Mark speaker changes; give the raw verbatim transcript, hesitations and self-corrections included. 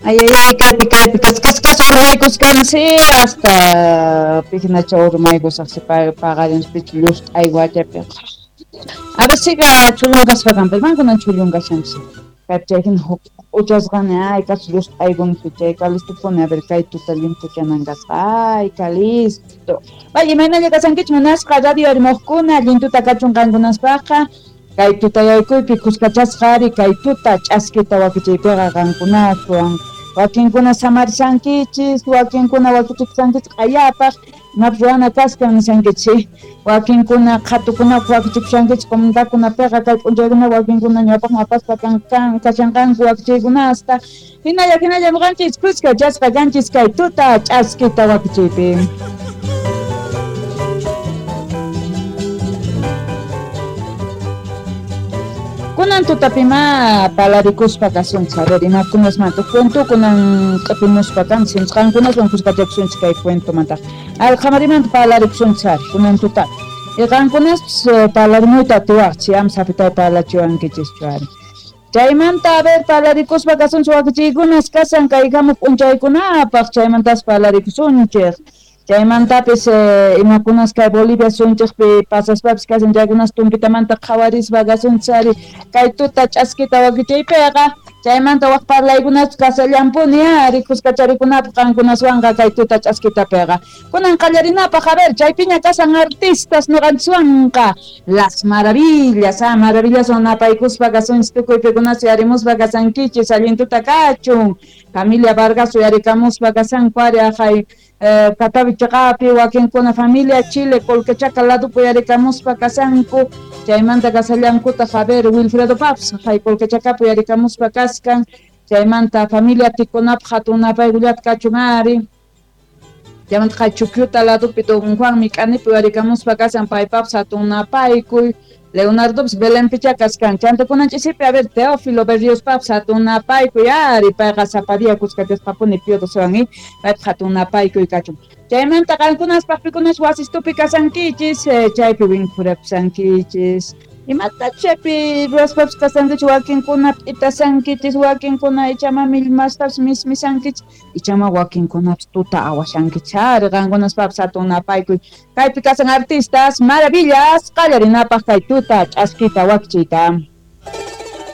Speaker 1: Ay, ay, ay, kaypi, kaypi, kas, kas, kas, urmaykuskansi, hasta pijnacha urmaykusaqsi paqarinspichu llust'aywachapi. A ver, siga chullunkaspa kanpas, mankunan chullunkasanchis. Kaypi chay hina huk uchasqani, ay, kas llust'aykunpi chay kalistupuni, a ver, kay tuta limpuchanan kasqa, ay, kalisto. Vaya, imaynalla kasankichik munasqa radio arimoqkuna, allin tuta kachun qankunaspaqqa. Kay tutayaykuypi kuskachasqa ari kay tuta ch'askita wakichiypiqa qankunaswan. Wakinkuna samarishankichis, wakinkuna wakichikushankichis q'ayapaq, imapas ruwana kaskan nishankichis. Wakinkuna qhatukunapaq wakichikushankichis comunidadkunapiqa kay p'unchaykuna wakinkuna ñawpaqman apaspa kan kashanqanku wakichiykunasta. Hinalla hinalla ñuqanchis kuskachasqa kanchis kay tuta ch'askita wakichiypi. Kunan tutapima palarikuspa kasunchis, a ver, imakunasmanta cuentokunan q'ipimuspa kanchis, qankunaswan kuskachakusunchis kay cuentomanta. Alqamarimanta palarikusunchis ari, kunan tuta. Y qankunaspis palarimuyta atiwaqchis, am sapitay palachiwankichischu ari. Chaymanta, a ver, palarikuspa kasunchis wakichiykunas kasan kay hamuq p'unchaykunapaq, chaymantas palarikusunchik. Chaymantapis eh, imakunas kay Bolivia sunchikpi pasaspapis kasan chaykunas tumpitamanta qhawarispa kasunchis ari kay tuta ch'askita wakichiypiqa. Chaymanta waq parlaykunaspis kasallampuni ari kuskacharikunapaq qankunaswanqa kay tuta ch'askitapiqa. Kunan qallarinapaq, a ver, chaypiña kasan artistas ñuqanchiswanqa. Las Maravillas, ah, maravillaswan napaykuspa kasunchis tukuy pikunas uyarimuspa kasankichis, allin tuta kachun. Familia Vargas uyarikamuspa kasanku ari ajay eh, Catavi chaqapi, wakinkuna familia Chile Colquechaca ladupi uyarikamuspa kasanku. Chaymanta kasallankutaq, a ver, Wilfredo Paps, jay Colquechacapi uyarikamuspa kaskan. Chaymanta familia Tikunapaq hatun napaykullata kachun ari. Chaymanta jay Chukyuta ladupi don Juan Mik'anipi uyarikamuspa kasan paypapas hatun napaykuy. Leonardopis Belenpicha kaskan. Chanta kunan ch'isipi, a ver, Teófilo Berriospapas hatun napaykuy ari, payqa sapa día kuskachasqapuni Pío Docewan, paypaq hatun napaykuy kachun. Chaymanta qankunaspaq pikunas wasistupi kasankichis, eh, chaypi winkhurakusankichis. Imata chaypi ruwaspapis kasankichis, wakinkuna p'itasankichis, wakinkuna ichama millmastapis mismisankichis, ichama wakinkunapis tuta awashankichis ari, qankunaspapis hatun napaykuy. Kaypi kasan artistas, maravillas, qallarinapaq kay tuta ch'askita wakichiyta.